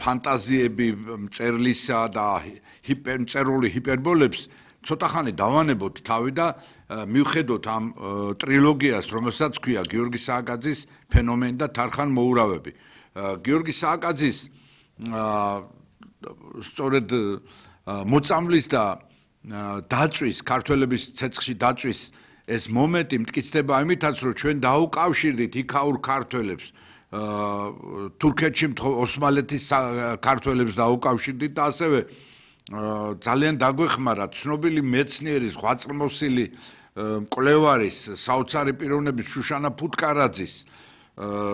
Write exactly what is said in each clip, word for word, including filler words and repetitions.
ფანტაზიები მწერლისა და მწერული ჰიპერბოლებს ცოტა ხანი დავანებოთ თავი და მივხედოთ ამ ტრილოგიას, რომელსაც ქვია გიორგი სააკაძის ფენომენი და თარხან მოურავები. გიორგი სააკაძის სწორედ მოწამვლის და დაწვის, ქართველების ცეცხლში დაწვის ეს მომენტი მტკიცდება იმითაც, რომ ჩვენ დაუკავშირდით იქაურ ქართველებს, თურქეთში ოსმალეთის ქართველებს დაუკავშირდით და ასევე ძალიან დაგვეხმარა ცნობილი მეცნიერის, ღვაწლმოსილი მკვლევარის, საოცარი პიროვნების შუშანა ფუტკარაძის,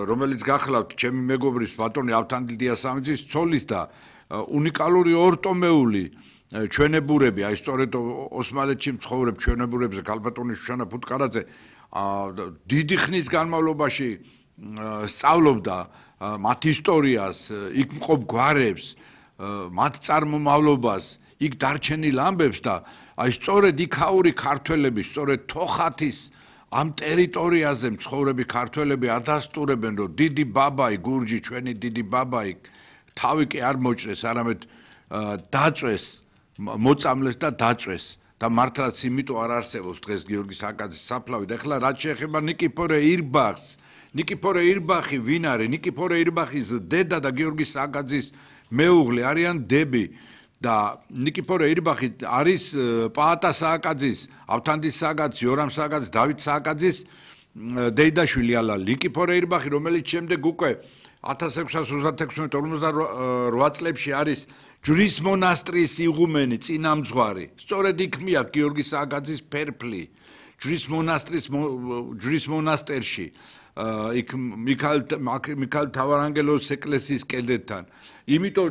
რომელიც გახლავთ ჩემი მეგობრის ბატონი ავთანდილ დიასამიძის ცოლის და უნიკალური ორტომეული ჩვენებურები, აი სწორედ ოსმალეთში მცხოვრებ ჩვენებურებზე ქალბატონი შუშანა ფუტკარაძე დიდი ხნის განმავლობაში სწავლობდა მათ ისტორიას, იქ მყოფ გვარებს, მათ წარმომავლობას, იქ დარჩენილ ამბებს და აი სწორედ იქაური ქართველები, სწორედ თოხათის ამ ტერიტორიაზე მცხოვრები ქართველები ადასტურებენ, რომ დიდი ბაბაი, გურჯი, ჩვენი დიდი ბაბაი თავი კი არ მოჭრეს, არამედ დაწვეს, მოწამლეს და დაწვეს და მართლაც იმიტომ არ არსებობს დღეს გიორგი სააკაძის საფლავი. და ეხლა რაც შეეხება ნიკიფორე ირბახს, ნიკიფორე ირბახი ვინ არის? ნიკიფორე ირბახის დედა და გიორგი სააკაძის მეუღლე არიან დები და ნიკიფორე ირბახი არის პაატა სააკაძის, ავთანდილ სააკაძის, იორამ სააკაძის, დავით სააკაძის დეიდაშვილი ალა ნიკიფორე ირბახი, რომელიც შემდეგ უკვე ათას ექვსას ოცდაექვსმეტ ორმოცდარვა წლებში არის ჯვრის მონასტრის იღუმენი, წინამძღვარი. სწორედ იქ მიაქვს გიორგი სააკაძის ფერფლი ჯვრის მონასტრის ჯვრის მონასტერში, იქ მიქაელ თავარანგელოს ეკლესიის კედელთან. იმიტომ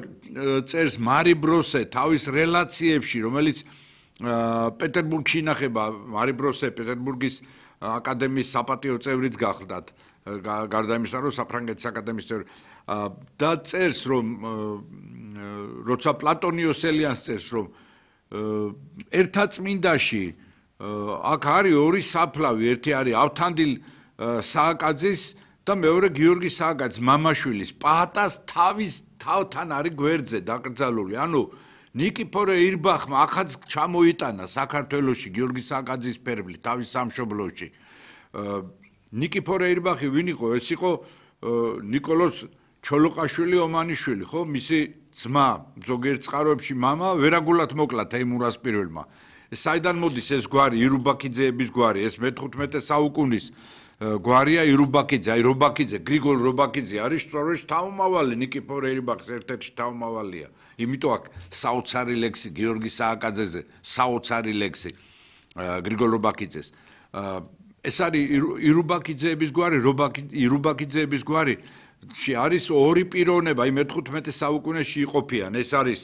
წერს მარი ბროსე თავის რელაციებში, რომელიც პეტერბურგში ინახება. მარი ბროსე პეტერბურგის აკადემიის საპატიო წევრიც გახლდათ, გარდა იმისა, რომ საფრანგეთის აკადემიის წევრი და წერს, რომ როცა პლატონ იოსელიანს წერს, რომ ერთაწმინდაში აქ არის ორი საფლავი, ერთი არის ავთანდილ სააკაძის და მეორე გიორგი სააკაძის მამაშვილის, პაატას თავის თავთან არის გვერდზე დაკრძალული. ანუ ნიკიფორე ირბახმა ახაც ჩამოიტანა საქართველოში გიორგი სააკაძის ფერფლი თავის სამშობლოში. ნიკიფორე ირბახი ვინ იყო? ეს იყო ნიკოლოზ ჩოლოყაშვილი ომანიშვილი, ხო? მისი ძმა, ზოგიერთ წყაროებში მამა, ვერაგულად მოკლა თეიმურას პირველმა. საიდან მოდის ეს გვარი, ირუბაქიძეების გვარი, ეს მეთხუთმეტე საუკუნის გვარია ირუბაქიძე, აი რობაქიძე, გრიგოლ რობაქიძე არის სწორედ თავმავალი ნიკიფორე ირბახის ერთ-ერთი თავმავალია. იმიტომ აქ საოცარი ლექსი გიორგი სააკაძეზე, საოცარი ლექსი გრიგოლ რობაქიძეს. ეს არის ირუბაქიძეების გვარი, ირუბაქიძეების გვარი არის ორი პიროვნება, აი მეთხუთმეტე საუკუნეში იყოფიან. ეს არის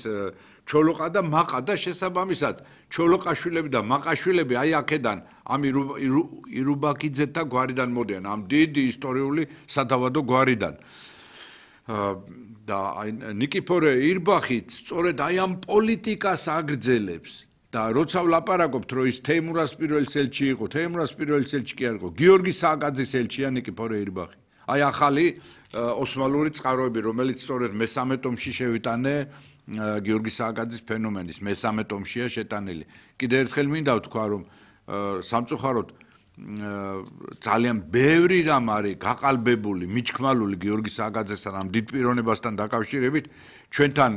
ჩოლოყა და მაყა და შესაბამისად ჩოლოყაშვილები და მაყაშვილები აი აქედან ამ ირუბაქიძეთა გვარიდან მოდიან, ამ დიდი ისტორიული სადავადო გვარიდან. და აი ნიკიფორე ირბახით სწორედ აი ამ პოლიტიკას აგრძელებს და როცა ვლაპარაკობთ, რომ ის თეიმურას პირველი ელჩი იყო, თეიმურას პირველი ელჩი კი არ იყო, გიორგი სააკაძის ელჩია ნიკიფორე ირბახი. აი ახალი ოსმალური წყაროები, რომელიც სწორედ მესამე ტომში შევიტანე გიორგი სააკაძის ფენომენის მესამე ტომშია შეტანილი. კიდე ერთხელ მინდა ვთქვა, რომ სამწუხაროდ ძალიან ბევრი რამ არის გაყალბებული, მიჩქმალული გიორგი სააკაძესთან ამ დიდ პიროვნებასთან დაკავშირებით. ჩვენთან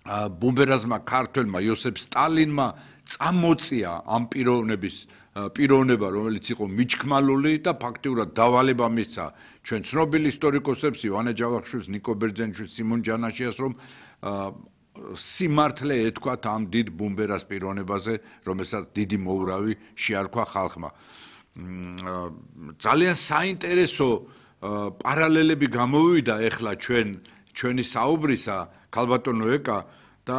ბუმბერაზმა ქართველმა იოსებ სტალინმა წამოწია ამ პიროვნების პიროვნება, რომელიც იყო მიჩქმალული და ფაქტიურად დავალება მისცა ჩვენ ცნობილ ისტორიკოსებს, ივანე ჯავახიშვილს, ნიკო ბერძენიშვილს, სიმონ ჯანაშიას, რომ სიმართლე ეთქვათ ამ დიდ ბუმბერას პიროვნებაზე, რომელსაც დიდი მოურავი შეარქვა ხალხმა. ძალიან საინტერესო პარალელები გამოვიდა ეხლა ჩვენ ჩვენი საუბრისა, ქალბატონო ეკა და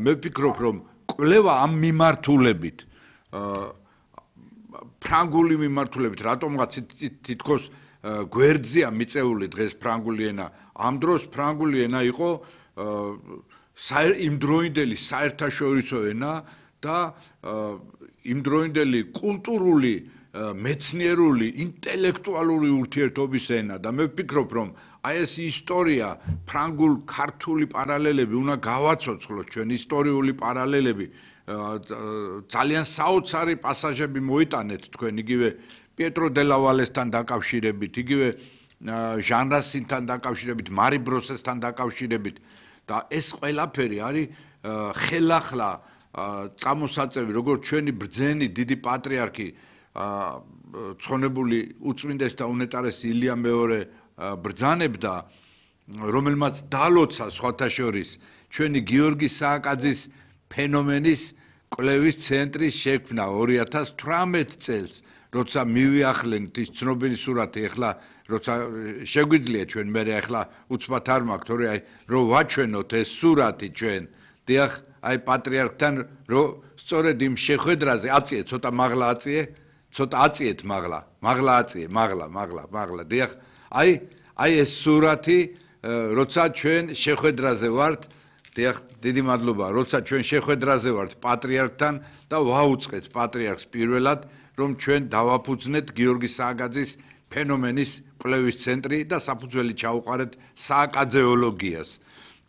მე ვფიქრობ, რომ კვლევა ამ მიმართულებით ფრანგული მიმართულებით, რატომღაც თითქოს გვერდზეა მიწეული დღეს ფრანგული ენა. ამ დროს ფრანგული ენა იყო იმდროინდელი საერთაშორისო ენა და იმდროინდელი კულტურული მეცნიერული, ინტელექტუალური ურთიერთობის ენა და მე ვფიქრობ, რომ აი ეს ისტორია, ფრანგულ-ქართული პარალელები უნდა გავაცოცხლოთ, ჩვენ ისტორიული პარალელები, ძალიან საოცარი პასაჟები მოიტანეთ თქვენ იგივე პიეტრო დელავალესთან დაკავშირებით, იგივე ჟან რასინთან დაკავშირებით, მარი ბროსესთან დაკავშირებით და ეს ყველაფერი არის ხელახლა წამოსაწევი, როგორც ჩვენი ბრძენი დიდი პატრიარქი ცხონებული უწმინდეს და უნეტარესი ილია მეორე ბრძანებდა, რომელმაც დალოცა სხვათა შორის ჩვენი გიორგი სააკაძის ფენომენის კვლევის ცენტრის შექმნა ორი ათას თვრამეტ წელს, როცა მივიახლენთ ის ცნობილი სურათი, ეხლა როცა შეგვიძლია ჩვენ მე ეხლა უცბად არ მაქვს, თორე აი რომ ვაჩვენოთ ეს სურათი ჩვენ, დიახ, აი პატრიარქთან რომ სწორედ იმ შეხვედრაზე აწიე, ცოტა მაღლა აწიე, ცოტა აწიეთ მაღლა, მაღლა აწიე, მაღლა, მაღლა, მაღლა, დიახ, აი აი ეს სურათი, როცა ჩვენ შეხვედრაზე ვართ, დიახ, დიდი მადლობა, როცა ჩვენ შეხვედრაზე ვართ პატრიარქთან და ვაუწყეთ პატრიარქს პირველად, რომ ჩვენ დავაფუძნეთ გიორგი სააკაძის ფენომენის კვლევის ცენტრი და საფუძველი ჩაუყარეთ სააკაძეოლოგიას.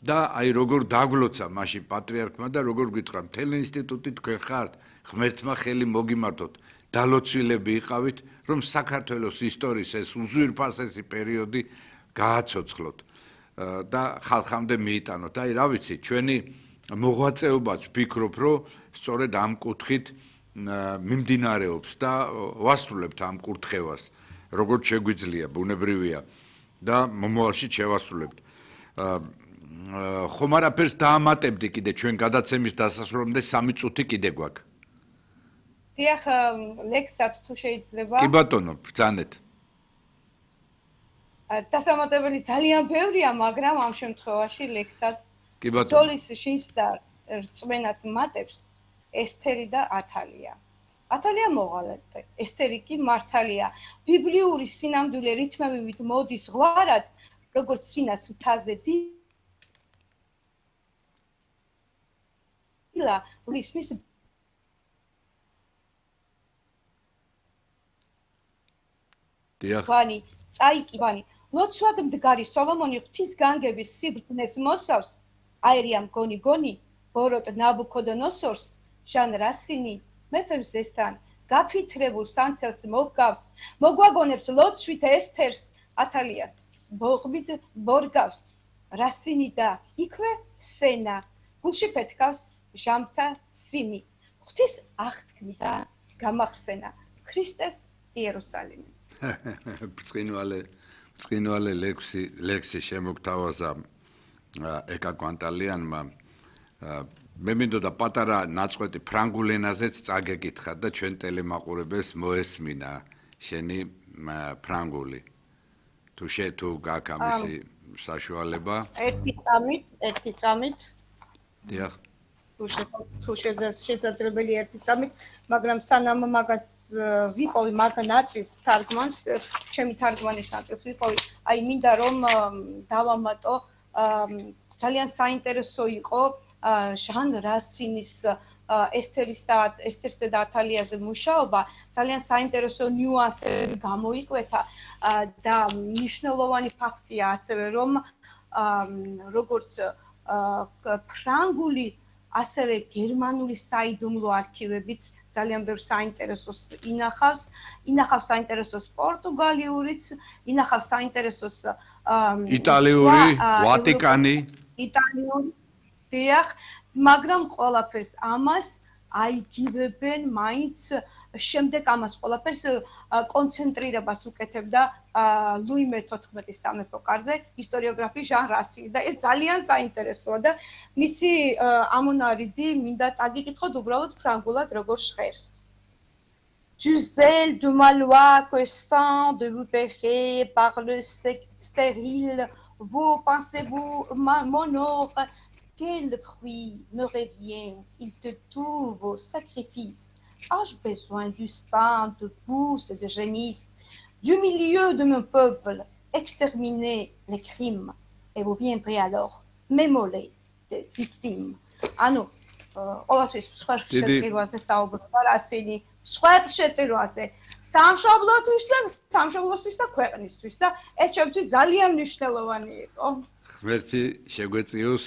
და აი როგორ დაგლოცა მაშინ პატრიარქმა და როგორ გითხრა, მთელი ინსტიტუტი თქვენ ხართ, ღმერთმა ხელი მოგიმართოთ, დალოცვილები იყავით, რომ საქართველოს ისტორიის ეს უზვირფასესი პერიოდი გააცოცხლოთ და ხალხამდე მიიტანოთ. აი რა ვიცი, ჩვენი მოღვაწეობაც ვფიქრობ, რომ სწორედ ამ კუთხით მიმდინარეობს და ვასრულებთ ამ კურთხევას, როგორც შეგვიძლია, ბუნებრივია და მომავალში შევასრულებთ. ხომ არაფერს დაამატებდი კიდე ჩვენ გადაცემის დასასრულამდე სამი წუთი კიდე გვაქვს. დიახ, ლექსად თუ შეიძლება. კი ბატონო, ბრძანეთ. დასამატებელი ძალიან ბევრია, მაგრამ ამ შემთხვევაში ლექსად კი ბატონო. ძოლის შინს და რწმენას მატებს ესთერი და ათალია. ათალია მოღალატე, ესთერი კი მართალია. ბიბლიური სინამდვილე რითმებით მოდის ზღვარად, როგორც სინას მთაზე დილა, რისმის ვანი, წაიკი ვანი, ლოცვად მდგარი სოლომონი ღვთის განგების სიბრძნეს მოსავს, აერია მგონი გონი, ბოროტ ნაბუქოდონოსორს, ჟან რასინი, მეფემ ზესთან, გაფითრებულ სანთელს მოგავს, მოგვაგონებს ლოცვით ესთერს, ათალიას, ბოღბით ბორგავს, რასინი და იქვე სენა, გულში ფეთქავს ჟამთა სიმი, ღვთის აღთქმით და გამახსენა, ქრისტეს იერუსალიმი. ბრწყინვალე ბრწყინვალე ლექსი ლექსი შემოგთავაზა ეკა კვანტალიანმა. მე მინდოდა პატარა ნაწყვეტი ფრანგულ ენაზეც წაგეკითხა და ჩვენ ტელემაყურებელს მოესმინა შენი ფრანგული. თუ შე თუ გაქვს ამისი საშუალება. ერთი წამით, ერთი წამით. დიახ. თუ შესაძლებელი ერთი წამით, მაგრამ სანამ მაგას ვიყოვი მაგ ნაწილს თარგმანს, ჩემი თარგმანის ნაწილს ვიყოვი, აი მინდა რომ დავამატო, ძალიან საინტერესო იყო ჟან რასინის ესთერის და ესთერსა და ათალიაზე მუშაობა, ძალიან საინტერესო ნიუანსები გამოიკვეთა და მნიშვნელოვანი ფაქტია ასევე რომ როგორც ფრანგული ასევე გერმანული საიდუმლო არქივებიც ძალიან ბევრ საინტერესოს ინახავს, ინახავს საინტერესოს პორტუგალიურიც, ინახავს საინტერესოს იტალიური, ვატიკანი, იტალიური, დიახ, მაგრამ ყველაფერს ამას აიგივებენ მაინც შემდეგ ამას ყველაფერს კონცენტრირებას უკეთებდა ლუი მეთოთხმეტის სამეფო კარზე ისტორიოგრაფი ჟან რასინი და ეს ძალიან საინტერესოა და მისი ამონარიდი მინდა წაგიკითხოთ უბრალოდ ფრანგულად როგორ ჟღერს. Du zèle de ma loi que sans de vous pécher par le secte stérile, vous pensez-vous mon ordre, quel fruit me revient, il te tout vos sacrifices. Ai-je besoin du sang de pousses et génisses, du milieu de mon peuple, exterminer les crimes, et vous viendrez alors m'émoler des victimes. ანუ ყველაფრის სხვა შეწირვაზე საუბრობა რასინი სხვა შეწირვაზე სამშობლოთვის და სამშობლოსთვის და ქვეყნისთვის და ეს ჩემთვის ძალიან მნიშვნელოვანი იყო. ღმერთი შეგვეწიოს